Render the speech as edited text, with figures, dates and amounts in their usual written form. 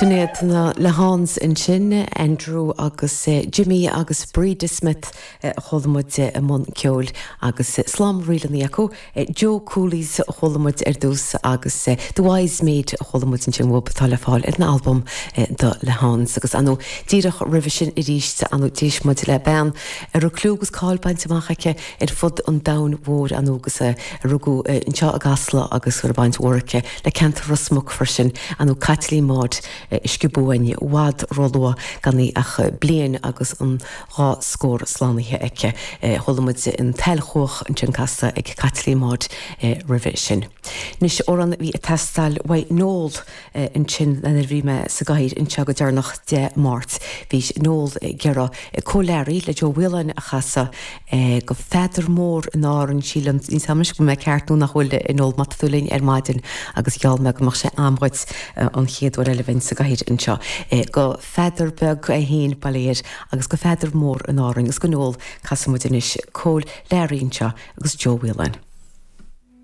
Sin iad na Lehanes ansin, Andrew agus Jimmy agus Breda Smith a chuala muid i mbun ceoil agus slám ríleanna acu. Joe Cooley's a chuala muid ar dtús agus The Wise Maid a chuala muid ansin uathub atá le fáil ar an albam The Lehanes. Agus ar ndóigh díreach roimhe sin arís ar ndóigh d'éist muid le bean a raibh clú agus cáil bainte amach aici ar fud an domhain mhóir ar ndóigh agus a rugadh anseo i gCasla agus go raibh baint mhór aici le ceantar Ros Muc freisin, ar ndóigh Caitlín Maude a sciobadh uainn i bhfad róluath gan í ach bliain agus an dá scór slánaithe aici. Chuala muid an tSail Chuach ansin casta ag Caitlín Maude roimhe sin. Anois, amhrán a bhí ag teastáil uaidh Noel ansin nuair a bhí mé sa gcathaoir anseo go deireanach Dé Máirt. Bhí Noel ag iarraidh Cóil Learaí le Joe Whelan a chasadh go Pheadar Mór in Árainn. Sílim, níl 's agam anois go bhfuil mé ceart nó nach bhfuil, a Noel, má tá tú linn ar maidin agus gheall mé go mbeadh sé a'm dhuit an chéad uair eile a bheinn sa gcathaoir anseo. Go Pheadar beag é féin, bail ó Dhia air, agus go Pheadar Mór in Árainn agus go Noel, casfaidh muid anois Cóil Learaí anseo agus Joe Whelan.